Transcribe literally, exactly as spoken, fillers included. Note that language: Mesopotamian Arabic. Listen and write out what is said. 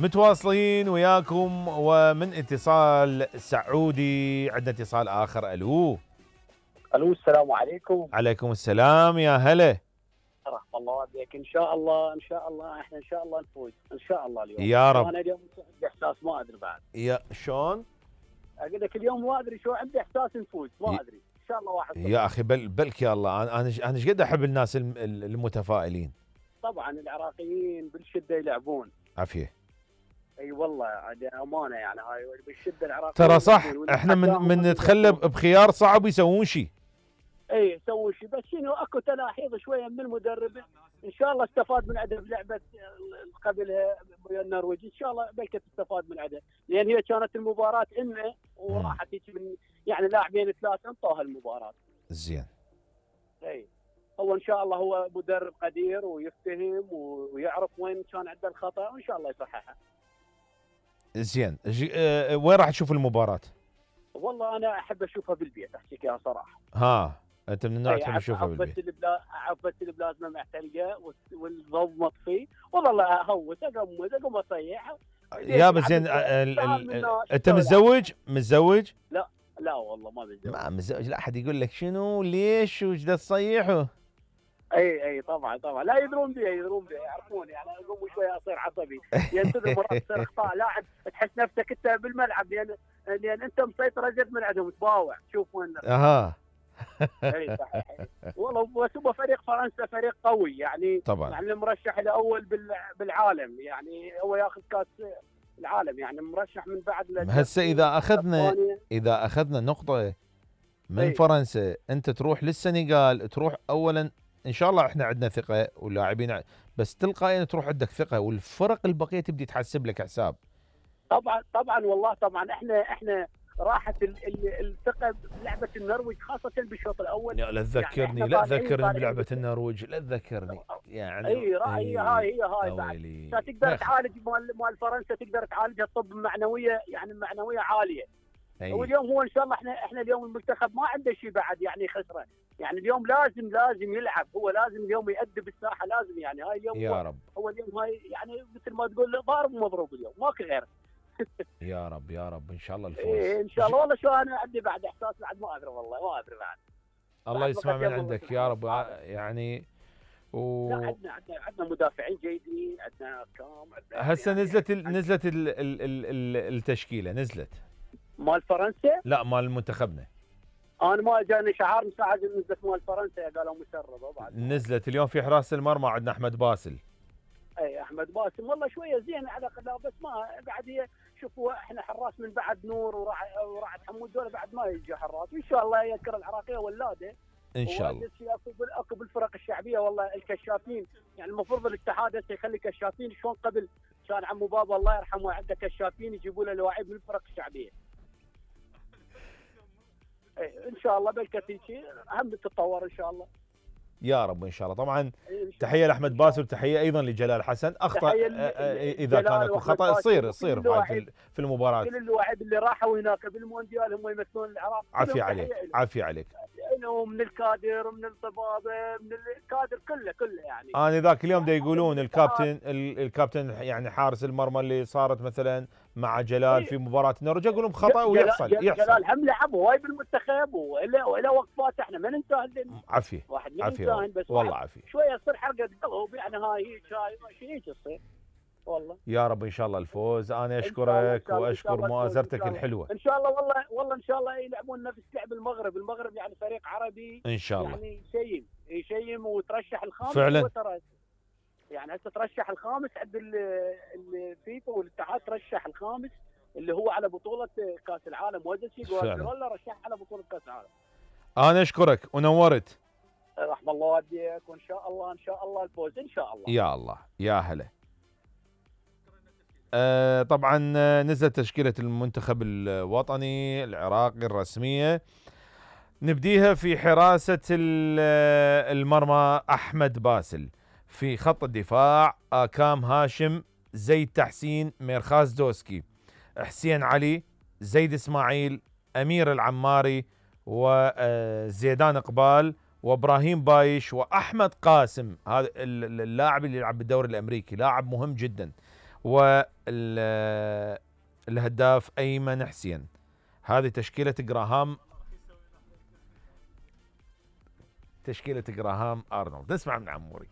متواصلين وياكم ومن اتصال سعودي عندنا اتصال آخر. ألو الو السلام عليكم. عليكم السلام يا هلا. رحم الله والديك. ان شاء الله ان شاء الله احنا ان شاء الله نفوز ان شاء الله اليوم يا رب. انا اليوم عندي احساس ما ادري بعد. يا شلون؟ اقول لك اليوم ما ادري شو عندي احساس نفوز ما ادري ان شاء الله واحد. يا اخي بل بلك يا الله انا انا انا ايش قد احب الناس المتفائلين. طبعا العراقيين بالشده يلعبون. عافيه. اي والله امانه يعني هاي بالشده العراقيين ترى صح احنا من من نتخلى بخيار صعب يسوون شيء. اي يسوون شيء بس شنو اكو تلاحيظ شويه من المدرب ان شاء الله استفاد من عدم لعبه قبلها ويا النرويج ان شاء الله بلكي تستفاد من عدم لان هي كانت المباراه انه وراحت هيك من يعني لاعبين ثلاثه انطوها المباراه. زين. اي هو ان شاء الله هو مدرب قدير ويفتهم ويعرف وين كان عنده الخطا وان شاء الله يصححها. زين اه وين راح تشوف المباراه؟ والله انا احب اشوفها بالبيت احكيك يا صراحه. ها انت من النوع تحب تشوفها بالبيت؟ عفت البلاد عفت البلازما معتلقه والضوء مطفي والله لا اهوس اقمز اقوم اصيح. يا بس زين انت متزوج؟ متزوج؟ لا لا والله ما متزوج. ما متزوج لا احد يقول لك شنو ليش وش ذا تصيحه؟ اي اي طبعا طبعا لا يدرون بي يدرون بي يعرفون يعني اقوم شوي اصير عصبي يعني تدري مرات تصير اخطاء لاعب تحس نفسك انت بالملعب لان لان انت مسيطر ازيد من عندهم تباوع تشوف وين. اها اي صحيح والله بس هو فريق فرنسا فريق قوي يعني طبعا يعني المرشح الاول بالعالم يعني هو ياخذ كاس العالم يعني مرشح من بعد. هسه اذا اخذنا اذا اخذنا نقطه من أي. فرنسا انت تروح للسنغال تروح اولا ان شاء الله احنا عندنا ثقه ولاعبين بس تلقائيا تروح عندك ثقه والفرق البقيه تبدي تحسب لك حساب. طبعا طبعا والله طبعا احنا احنا راحت الثقه بلعبه النرويج خاصه بالشوط الاول. لا تذكرني يعني لا تذكرني بلعبه النرويج لا تذكرني يعني. اي رايي هاي هي هاي بعد تقدر تعالج مال مال فرنسا تقدر تعالجها طب معنويه يعني معنويه عاليه. أيه. واليوم هو ان شاء الله احنا احنا اليوم المنتخب ما عنده شيء بعد يعني خسره يعني اليوم لازم لازم يلعب هو لازم اليوم يأدي بالساحه لازم يعني هاي اليوم يا هو رب. هو اليوم هاي يعني مثل ما تقول ضارب ومضروب اليوم ماكو غيره. يا رب يا رب ان شاء الله الفوز. إيه ان شاء الله والله شو انا عندي بعد احساس بعد ما ادري والله ما ادري بعد. الله يسمع من عندك يا رب يعني و... لا عندنا عندنا عندنا مدافعين جيدين عندنا كام هسه يعني نزلت ال نزلت ال ال ال ال التشكيله نزلت مال فرنسا؟ لا مال منتخبنا. انا ما جاني شعار من ساعه نزلت مال فرنسا قالوا مسربه بعد نزلت اليوم في حراسه المرمى عندنا احمد باسل. اي احمد باسم والله شويه زين على قدام بس ما بعد هي شوفوا احنا حراس من بعد نور وراح وراح حمود دول بعد ما يجي حراس وان شاء الله يذكر العراقيه ولاده ان شاء الله. اكو بالفرق الشعبيه والله الكشافين يعني المفروض الاتحاد هسه يخلي كشافين شلون قبل كان عمو بابا الله يرحمه عنده كشافين يجيبوا له لواعيب من الفرق الشعبيه. ان شاء الله بالكثير هم تتطور ان شاء الله. يا رب ان شاء الله. طبعا تحيه لاحمد باسل وتحيه ايضا لجلال حسن. اخطا اذا كان اكو خطا تصير تصير في المباراه. كل اللاعبين اللي راحوا هناك بالمونديال هم يمثلون العراق. عافيه عليك عافيه عليك. من الكادر من الطبابه من الكادر كله كله يعني. انا ذاك اليوم دا يقولون الكابتن الكابتن يعني حارس المرمى اللي صارت مثلا مع جلال في مباراه النرويج يقولون خطا ويحصل يحصل. جلال هم لعب هواي بالمنتخب والا والا وقفات احنا ما ننسى. عافيه واحد عافيه بس والله عافيه. شويه تصير حرقه قلب يعني هاي هيك هاي شيء هيك تصير والله. يا رب ان شاء الله الفوز. انا اشكرك واشكر مؤازرتك الحلوه. ان شاء الله والله والله ان شاء الله يلعبون نفس لعب المغرب. المغرب يعني فريق عربي ان شاء الله يعني يشيم يشيم وترشح الخامس فعلا يعني هسه ترشح الخامس عند الفيفا والاتحاد ترشح الخامس اللي هو على بطوله كاس العالم وزسي جوارديولا رشح على بطوله كاس العالم. انا اشكرك ونورت. رحم الله والديك وان شاء الله ان شاء الله الفوز ان شاء الله. يا الله يا هلا. آه طبعا نزلت تشكيلة المنتخب الوطني العراقي الرسمية. نبديها في حراسة المرمى أحمد باسل. في خط الدفاع آكام هاشم زيد تحسين ميرخاز دوسكي حسين علي زيد إسماعيل أمير العماري وزيدان إقبال وإبراهيم بايش وأحمد قاسم. هذا اللاعب اللي يلعب بالدوري الأمريكي لاعب مهم جدا. والهداف أيمن حسين. هذه تشكيلة جراهام تشكيلة جراهام أرنولد. نسمع من عموري.